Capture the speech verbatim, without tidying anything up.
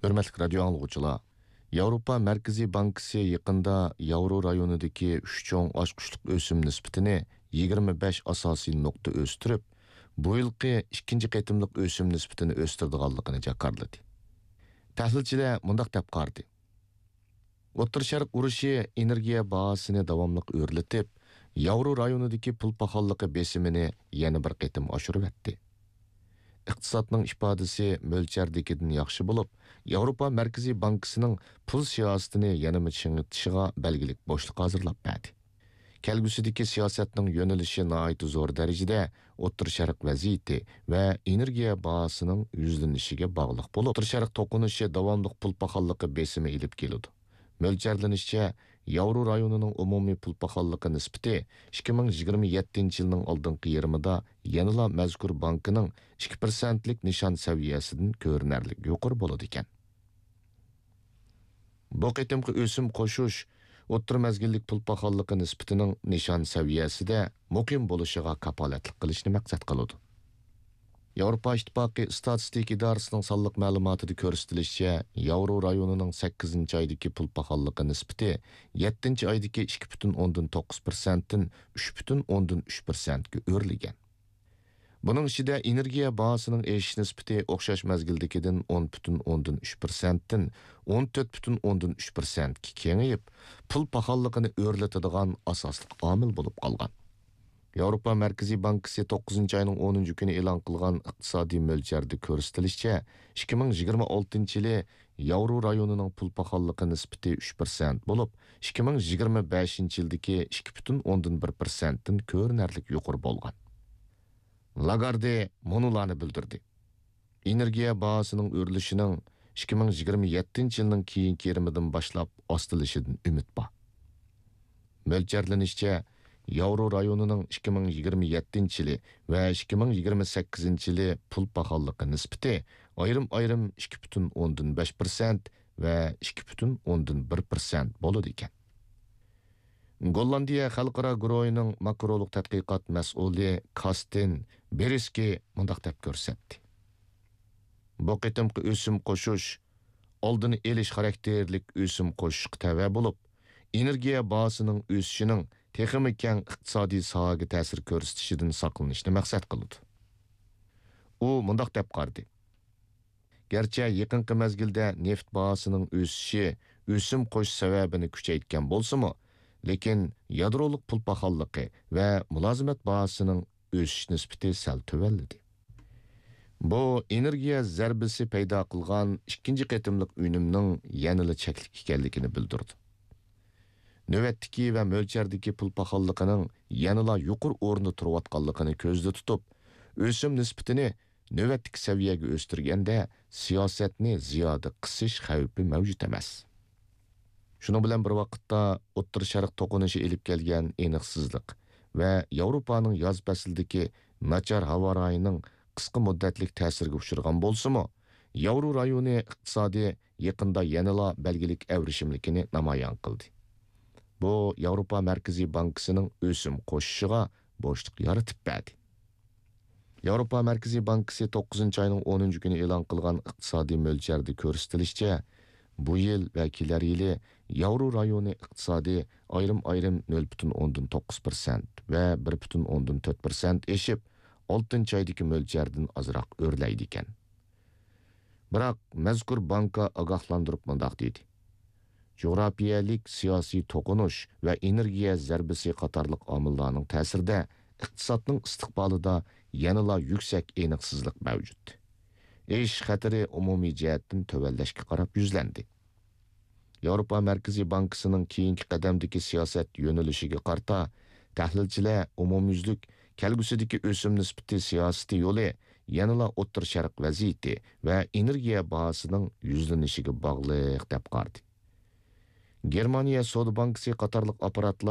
ھۆرمەتلىك رادىيو ئاڭلىغۇچىلار، ياۋروپا مەركىزىي بانكىسى يېقىندا ياۋرو رايونىدىكى ئۈچ چوڭ ئاچقۇچلۇق ئۆسۈم نىسبىتىنى يىگىرمە بەش ئاساسىي نۇقتا ئۆستۈرۈپ، بۇ يىلقى ئىككىنچى قېتىملىق ئۆسۈم نىسبىتىنى ئۆستۈرىدىغانلىقىنى جاكارلىدى. تەھلىلچىلەر مۇنداق دەپ قارىدى. ئوتتۇرا شەرق ئۇرۇشى ئېنېرگىيە باھاسىنى داۋاملىق ئۆرلىتىپ، ياۋرو رايونىدىكى پۇل پاخاللىقى بېسىمىنى يەنە بىر قېتىم ئاشۇرۇۋەتتى. ئىقتىسادنىڭ ئىپادىسى مۆلچەردىكىدىن ياخشى بولۇپ، ياۋروپا مەركىزىي بانكىسىنىڭ پۇل سىياسىتىنى يەنىمۇ چىڭىتىشىغا بەلگىلىك بوشلۇق ھازىرلاپ بەردى. كەلگۈسىدىكى سىياسەتنىڭ يۆنىلىشى ناھايىتى زور دەرىجىدە ئوتتۇرا شەرق ۋەزىيىتى ۋە ئېنېرگىيە باھاسىنىڭ يۈزلىنىشىگە باغلىق بولۇپ، ئوتتۇرا شەرق توقۇنۇشى داۋاملىق پۇل پاخاللىقى بېسىمى ئېلىپ كېلىدۇ. مۆلچەرلىنىشىچە، ياۋرو رايونىنىڭ ئومۇمىي پۇل پاخاللىقى نىسبىتى ئىككى مىڭ يىگىرمە يەتتىنچى يىلنىڭ ئالدىنقى يېرىمىدا يەنىلا مەزكۇر بانكىنىڭ ئىككى پىرسەنتلىك نىشان سەۋىيەسىدىن كۆرۈنەرلىك يۇقىرى بولىدىكەن. بۇ قېتىمقى ئۆسۈم قوشۇش ئوتتۇرا مەزگىللىك پۇل پاخاللىقى نىسبىتىنىڭ نىشان سەۋىيەسىدە مۇقىم بولۇشىغا كاپالەتلىك قىلىشنى مەقسەت قىلىدۇ. ياۋروپا ئىتتىپاقى ئىستاتىستىكا ئىدارىسىنىڭ سانلىق مەلۇماتىدا كۆرسىتىلىشىچە، ياۋرو رايونىنىڭ سەككىزىنچى ئايدىكى پۇل پاخاللىقى نىسبىتى يەتتىنچى ئايدىكى ئىككى پۈتۈن ئوندىن توققۇز پىرسەنتتىن ئۈچ پۈتۈن ئوندىن ئۈچ پىرسەنتكە ئۆرلىگەن. بۇنىڭ ئىچىدە ئېنېرگىيە باھاسىنىڭ ئېشىش نىسبىتى ئوخشاش مەزگىلدىكىدىن ئون پۈتۈن ئوندىن ئۈچ پىرسەنتتىن ئون تۆت پۈتۈن ئوندىن ئۈچ پىرسەنتكە كېڭىيىپ، پۇل پاخاللىقىنى ئۆرلىتىدىغان ئاساسلىق ئامىل بولۇپ قالغان. ياۋروپا مەركىزىي بانكىسى توققۇزىنچى ئاينىڭ ئونىنچى كۈنى ئېلان قىلغان ئىقتىسادىي مۆلچەردە كۆرسىتىلىشىچە، ئىككى مىڭ يىگىرمە ئالتىنچى يىلى ياۋرو رايونىنىڭ پۇل پاخاللىقى نىسبىتى ئۈچ پىرسەنت بولۇپ، ئىككى مىڭ يىگىرمە بەشىنچى يىلدىكى ئىككى پۈتۈن ئوندىن بىر پىرسەنتتىن كۆرۈنەرلىك يۇقىرى بولغان. لاگاردې مۇنۇلارنى بىلدۈردى. ئېنېرگىيە باھاسىنىڭ ئۆرلىشىنىڭ ئىككى مىڭ يىگىرمە يەتتىنچى يىلنىڭ كېيىنكى يېرىمىدىن باشلاپ ئاستىلىشىدىن ئۈمىد بار. مۆلچەرلىنىشىچە، ياۋرو رايونىنىڭ ئىككى مىڭ يىگىرمە يەتتىنچى يىلى ۋە ئىككى مىڭ يىگىرمە سەككىزىنچى يىلى پۇل پاخاللىقى نىسبىتى ئايرىم-ئايرىم ئىككى پۈتۈن ئوندىن بەش پىرسەنت ۋە ئىككى پۈتۈن ئوندىن بىر پىرسەنت بولىدىكەن. گوللاندىيە خەلقئارا گۇرۇھىنىڭ ماكرولۇق تەتقىقات مەسئۇلى كاستىن بېرىسكى مۇنداق دەپ كۆرسەتتى. بۇ قېتىمقى ئۆسۈم قوشۇش ئالدىنى ئېلىش خاراكتېرلىك ئۆسۈم قوشۇشقا تەۋە بولۇپ، ئېنېرگىيە باھاسىنىڭ ئۆسۈشىنىڭ تېخىمۇ كەڭ ئىقتىسادىي ساھەگە تەسىر كۆرسىتىشىدىن ساقلىنىشنى مەقسەت قىلىدۇ. ئۇ مۇنداق دەپ قارىدى. گەرچە يېقىنقى مەزگىلدە نېفىت باھاسىنىڭ ئۆسۈشى ئۆسۈم قوشۇش سەۋەبىنى كۈچەيتكەن بولسىمۇ، لېكىن يادرولۇق پۇل پاخاللىقى ۋە مۇلازىمەت باھاسىنىڭ ئۆسۈش نىسبىتى سەل تۆۋەنلىدى. بۇ ئېنېرگىيە زەربىسى پەيدا قىلغان ئىككىنچى قېتىملىق ئۈنۈمنىڭ يەنىلا چەكلىك ئىكەنلىكىنى بىلدۈرىدۇ. نۆۋەتتىكى ۋە مۆلچەردىكى پۇل پاخاللىقىنىڭ يەنىلا يۇقىرى ئورۇندا تۇرۇۋاتقانلىقىنى كۆزدە تۇتۇپ، ئۆسۈم نىسبىتىنى نۆۋەتتىكى سەۋىيەگە ئۆستۈرگەندە، سىياسەتنى زىيادە قىسىش خەۋپى مەۋجۇت ئەمەس. شۇنىڭ بىلەن بىر ۋاقىتتا، ئوتتۇرا شەرق توقۇنۇشى ئېلىپ كەلگەن ئېنىقسىزلىق ۋە ياۋروپانىڭ ياز پەسلىدىكى ناچار ھاۋا رايىنىڭ قىسقا مۇددەتلىك تەسىرگە ئۇچرىغان بولسىمۇ، ياۋرو رايونى ئىقتىسادى يېقىندا يەنىلا بەلگىلىك ئەۋرىشىملىكىنى نامايان قىلدى. بۇ ياۋروپا مەركىزىي بانكىسىنىڭ ئۆسۈم قوشۇشىغا بوشلۇق يارىتىپ بەردى. ياۋروپا مەركىزىي بانكىسى توققۇزىنچى ئاينىڭ ئونىنچى كۈنى ئېلان قىلغان ئىقتىسادىي مۆلچەردە كۆرسىتىلىشىچە، بۇ يىل ۋە كېلەر يىلى ياۋرو رايونى ئىقتىسادى ئايرىم-ئايرىم نۆل پۈتۈن ئوندىن توققۇز پىرسەنت ۋە بىر پۈتۈن ئوندىن تۆت پىرسەنت ئېشىپ، ئالتىنچى ئايدىكى مۆلچەردىن ئازراق ئۆرلەيدىكەن. بىراق، مەزكۇر بانكا ئاگاھلاندۇرۇپ مۇنداق دېدى: جۇغراپىيەلىك سىياسىي توقۇنۇش ۋە ئېنېرگىيە زەربىسى قاتارلىق ئامىللارنىڭ تەسىرىدە ئىقتىسادنىڭ ئىستىقبالىدا يەنىلا يۈكسەك ئېنىقسىزلىق مەۋجۇت. ئېشىش خەتىرى ئومۇمىي جەھەتتىن تۆۋەنلەشكە قاراپ يۈزلەندى. ياۋروپا مەركىزىي بانكىسىنىڭ كېيىنكى قەدەمدىكى سىياسەت يۆنىلىشىگە قارىتا، تەھلىلچىلەر ئومۇميۈزلۈك كەلگۈسىدىكى ئۆسۈم نىسبىتى سىياسىتى يولى يەنىلا ئوتتۇرا شەرق ۋەزىيىتى ۋە ئېنېرگىيە باھاسىنىڭ يۈزلىنىشىگە باغلىق دەپ قارىدى. گېرمانىيە سودا بانكىسى قاتارلىق ئاپپاراتلار